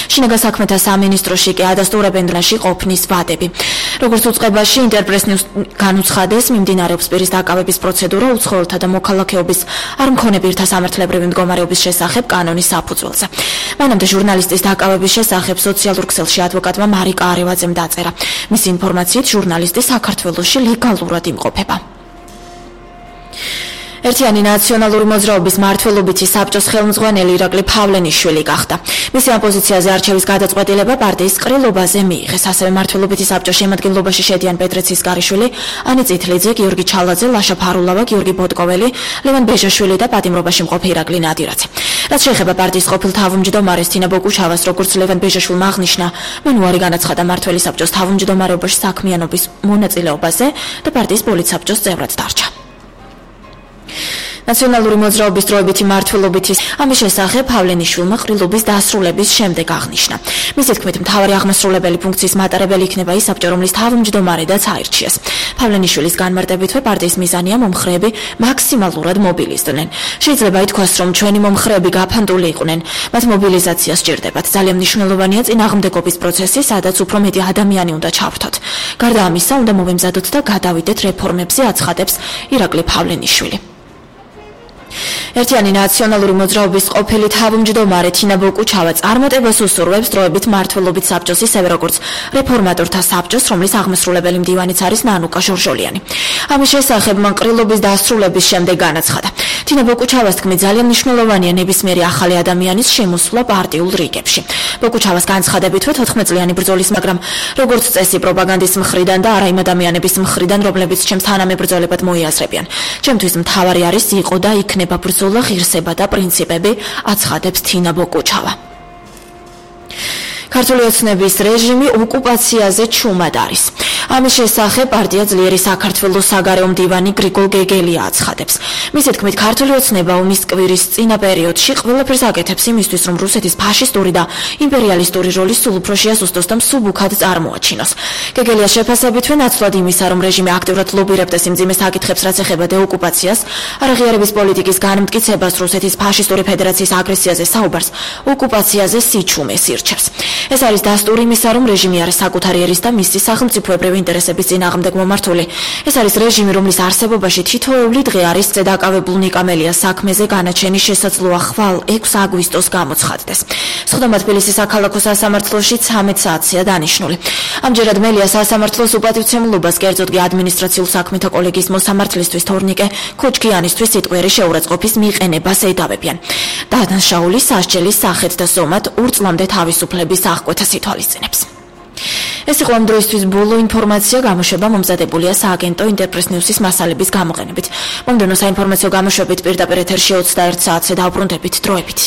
შინაგან საქმეთა სამინისტროში კი ადასტურებენ დროში ყოფნის ვადები. როგორც უწყებაში ინტერპრესნიუს განუცხადეს, მიმდინარეობს პირის დაკავების პროცედურა უცხოელთა და მოქალაქეობის არ მქონე პირთა სამართლებრივი მდგომარეობის შესახებ კანონის საფუძველზე. მანამდე ჟურნალისტის დაკავების შესახებ სოციალურ ქსელში ადვოკატმა მარიკა არევაძემ დაწერა. მისი ინფორმაციით ჟურნალისტი საქართველოში ლეგალურად იმყოფება. ერთიანი ნაციონალური მოძრაობის მმართველობითი საბჭოს ხელმძღვანელი ირაკლი ფავლენიშვილი გახდა. მისი ამ პოზიციაზე არჩევის გადაწყვეტილება პარტიის ყრილობაზე მიიღეს. ასევე მმართველობითი საბჭოს შემადგენლობაში შედიან პეტრე ცისკარიშვილი, ანი წითლიძე, გიორგი ჩალაძე, ლაშა ფარულავა, გიორგი ბოტკოველი, ლევან ბეჟაშვილი და პატიმრობაში მყოფი ირაკლი ნადირაძე. რაც შეეხება პარტიის ყოფილ თავმჯდომარეს თინა ბოკუჩავას, როგორც ლევან ბეჟაშვილმა აღნიშნა, მან უარი განაცხადა მმართველი საბჭოს თავმჯდომარეობაში საქმიანობის მონაწილეობაზე და პარტიის პოლიტსაბჭოს წევრად დარჩა. ნაციონალური მოძრაობის დროებითი მმართველობითი ამის შესახებ ფავლენიშვილმა ყრილობის დასრულების შემდეგ აღნიშნა. მისი თქმით, მთავარი აღმასრულებელი ფუნქციის მატარებელი იქნება ის საბჭო, რომლის თავმჯდომარედაც აირჩიეს. ფავლენიშვილის განმარტებითვე პარტიის მიზანია მომხრეები მაქსიმალურად მობილიზდნენ. შეიძლება ითქვას, რომ ჩვენი მომხრეები გაფანტული იყვნენ, მათ მობილიზაცია სჭირდებათ. ძალიან მნიშვნელოვანია წინააღმდეგობის პროცესი, სადაც უფრო მეტი ადამიანი უნდა ჩავრთოთ. გარდა ამისა, უნდა მოვემზადოთ და გადავიდეთ რეფორმებზე, აცხადებს ირაკლი ფავლენიშვილი. ერთიანი ნაციონალური მოძრაობის ყოფილი თავმჯდომარე თინა ბოკუჩავა წარმატებას უსურვებს დროებით მმართველობით საბჭოს, ისევე როგორც რეფორმატორთა საბჭოს, რომლის აღმასრულებელი მდივანიც არის ნანუკა ჟორჟოლიანი. ამის შესახებ მან ყრილობის დასრულების შემდეგ განაცხადა. თინა ბოკუჩავას თქმით, ძალიან მნიშვნელოვანია ნებისმიერი ახალი ადამიანის შემოსვლა პარტიულ რიგებში. ბოკუჩავას განცხადებითვე 14 წლიანი ბრძოლის, მაგრამ როგორც წესი პროპაგანდის მხრიდან და არა იმ ადამიანების მხრიდან, რომლებიც ჩემს თანამებრძოლებად მოიაზრებიან. ჩემთვის მთავარი არის იყო და იქნება ბრძოლა, ღირსება და პრინციპები, აცხადებს თინა ბოკუჩავა. ქართული ოცნების რეჟიმი ოკუპაციაზე ჩუმად არის. ამის შესახებ პარტია ძლიერი საქართველოს საგარეო მდივანი გრიგოლ გეგელია აცხადებს. მისი თქმით, ქართული ოცნება ომის კვირის წინა პერიოდში ყველაფერს აკეთებს იმისთვის, რომ რუსეთის ფაშისტური და იმპერიალისტური როლი სულ უფრო შეასუსტოს და მსუბუქად წარმოაჩინოს. გეგელიას შეფასებითვე ნაცვლად იმისა, რომ რეჟიმი აქტიურად ლობირებდეს იმ მძიმე საკითხებს, რაც ეხება დეოკუპაციას, არაღიარების პოლიტიკის განმტკიცებას, რუსეთის ფაშისტური ფედერაციის აგრესიაზე საუბარს, ოკუპაციაზე სიჩუმეს ირჩევს. ეს არის დასტური იმისა, რომ რეჟიმი არის საკუთარი ერის და მისი სახელმწიფოებრივი ინტერესების წინააღმდეგ მომართული. ეს არის რეჟიმი, რომლის არსებობაში თითოეული დღე არის წედაკავებულ ნიკამელიას საქმეზე განაჩენის შესაძლოა ხვალ 6 აგვისტოს გამოცხადდეს. სხდომა თბილისის საქალაქო სასამართლოში 13 საათია დანიშნული. ამჯერად მელია სასამართლოს უპატივცემლობას, კერძოდ კი ადმინისტრაციულ საქმეთა კოლეგიის მოსამართლისთვის თორნიკე ქოჩქიანისთვის სიტყვიერი შეურაცხყოფის მიყენებას ედავებიან. დადანაშაული სასჯელის სახეთ და ზომად 2 წლამდე თავისუფლების აღკვეთას ითვალისწინებს. ეს იყო ამ დროისთვის ბოლო ინფორმაცია, გამოშვება მომზადებულია სააგენტო ინტერპრესნიუსის მასალების გამოყენებით. მომდევნო საინფორმაციო გამოშვებით პირდაპირ ეთერში 21 საათზე დავბრუნდებით. დროებით.